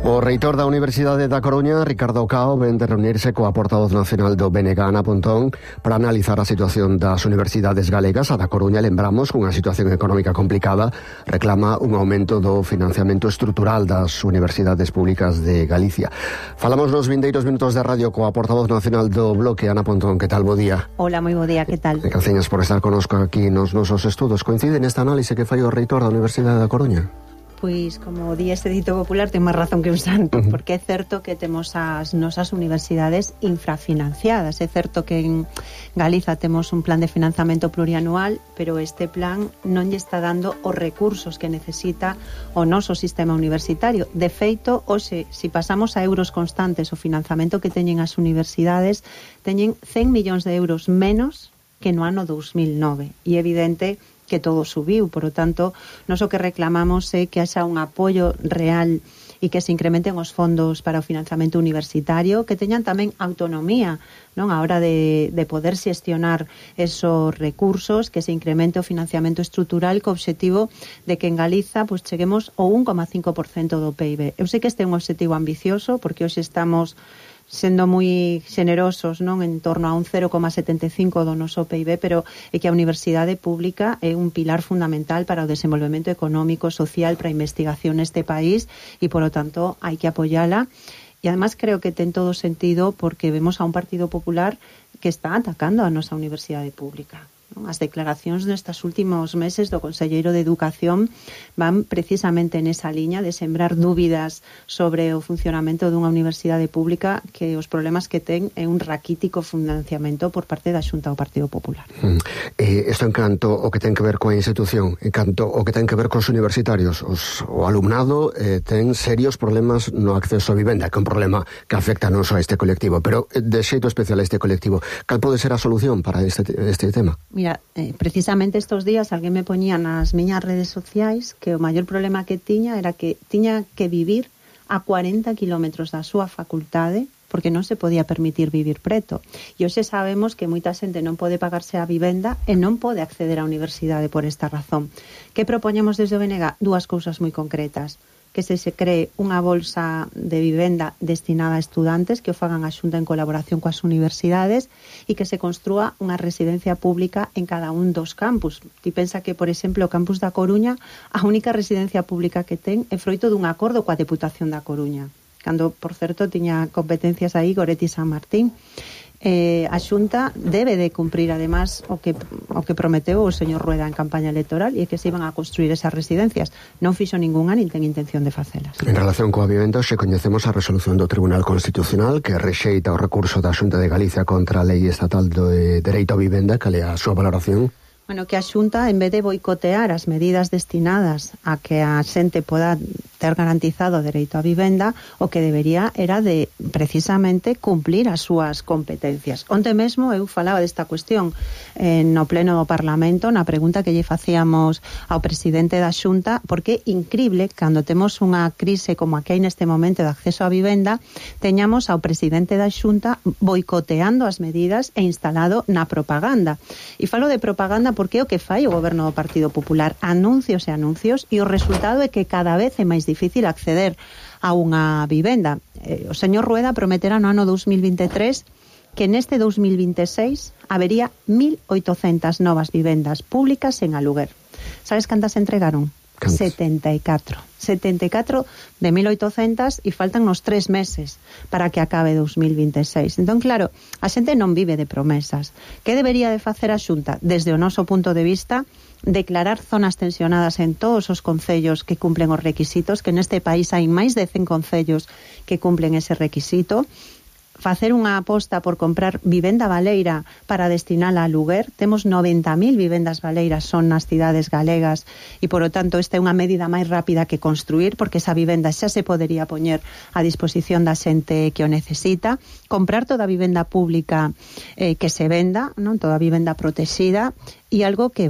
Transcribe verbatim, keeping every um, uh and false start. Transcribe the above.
O reitor da Universidade da Coruña, Ricardo Cao, ven de reunirse coa portavoz nacional do B N G, Ana Pontón, para analizar a situación das universidades galegas. A da Coruña, lembramos, cunha situación económica complicada, reclama un aumento do financiamento estrutural das universidades públicas de Galicia. Falamos nos vindeiros minutos de radio coa portavoz nacional do Bloque, Ana Pontón. Que tal, bo día? Hola, moi bo día, que tal? E gracias por estar conosco aquí nos nosos estudos. Coincide nesta análise que fai o reitor da Universidade da Coruña? Pois, como di este dito popular, ten máis razón que un santo, uh-huh. porque é certo que temos as nosas universidades infrafinanciadas. É certo que en Galiza temos un plan de financiamento plurianual, pero este plan non lle está dando os recursos que necesita o noso sistema universitario. De feito, hoxe, se si pasamos a euros constantes o financiamento que teñen as universidades, teñen cen millóns de euros menos que no ano dous mil nove. E é evidente que todo subiu, por lo tanto, nós o que reclamamos é que haxa un apoio real e que se incrementen os fondos para o financiamento universitario, que teñan tamén autonomía, non, a hora de, de poder xestionar esos recursos, que se incremente o financiamento estrutural co obxectivo de que en Galiza pues, cheguemos ao un coma cinco por cento do P I B. Eu sei que este é un obxectivo ambicioso, porque hoxe estamos sendo moi generosos, non, en torno a un cero coma setenta e cinco do noso P I B, pero é que a universidade pública é un pilar fundamental para o desenvolvemento económico, social, para a investigación neste país e, por lo tanto, hai que apoiala. E, además, creo que ten todo sentido porque vemos a un Partido Popular que está atacando a nosa universidade pública. As declaracións nestes últimos meses do Conselleiro de Educación van precisamente nesa liña de sembrar dúbidas sobre o funcionamento dunha universidade pública, que os problemas que ten é un raquítico financiamento por parte da Xunta do Partido Popular. Mm. Eh, isto en canto o que ten que ver coa institución, en canto o que ten que ver cos universitarios, os, o alumnado eh, ten serios problemas no acceso a vivenda, que é un problema que afecta non só a este colectivo, pero de xeito especial a este colectivo. Cal pode ser a solución para este, este tema? Mira, eh, precisamente estos días alguén me poñía nas miñas redes sociais que o maior problema que tiña era que tiña que vivir a cuarenta kilómetros da súa facultade porque non se podía permitir vivir preto. E hoxe sabemos que moita xente non pode pagarse a vivenda e non pode acceder á universidade por esta razón. Que propoñemos desde o B N G? Dúas cousas moi concretas. Que se se cree unha bolsa de vivenda destinada a estudantes que o fagan a Xunta en colaboración coas universidades e que se construa unha residencia pública en cada un dos campus. Ti pensa que, por exemplo, o campus da Coruña, a única residencia pública que ten é froito dun acordo coa Deputación da Coruña, cando, por certo, tiña competencias aí Goretti San Martín. Eh, a Xunta debe de cumprir además o que o que prometeu o señor Rueda en campaña electoral, e é que se iban a construir esas residencias. Non fixo ningunha nin ten intención de facelas. En relación coa vivenda, xe coñecemos a resolución do Tribunal Constitucional que rexeita o recurso da Xunta de Galicia contra a Lei Estatal do Dereito a Vivenda. Cal é a súa valoración? Bueno, que a Xunta, en vez de boicotear as medidas destinadas a que a xente poda ter garantizado o dereito a vivenda, o que debería era de, precisamente, cumplir as súas competencias. Onte mesmo eu falaba desta cuestión eh, no pleno do Parlamento, na pregunta que lle facíamos ao presidente da Xunta, porque é incrible, cando temos unha crise como a que hai neste momento de acceso a vivenda, teñamos ao presidente da Xunta boicoteando as medidas e instalado na propaganda. E falo de propaganda porque é o que fai o goberno do Partido Popular, anuncios e anuncios, e o resultado é que cada vez é máis difícil acceder a unha vivenda. Eh, o señor Rueda prometera no ano dous mil vinte e tres que neste dous mil vinte e seis habería mil oitocentas novas vivendas públicas en aluguer. Sabes cantas entregaron? ¿Cantas? setenta e catro. setenta e catro de mil oitocentas e faltan nos tres meses para que acabe dous mil vinte e seis. Entón, claro, a xente non vive de promesas. Que debería de facer a Xunta? Desde o noso punto de vista, declarar zonas tensionadas en todos os concellos que cumplen os requisitos, que neste país hai máis de cen concellos que cumplen ese requisito, facer unha aposta por comprar vivenda baleira para destinala a aluguer. Temos noventa mil vivendas baleiras son nas cidades galegas e, por lo tanto, esta é unha medida máis rápida que construir, porque esa vivenda xa se podería poñer a disposición da xente que o necesita. Comprar toda a vivenda pública eh, que se venda, non, toda a vivenda protexida, e algo que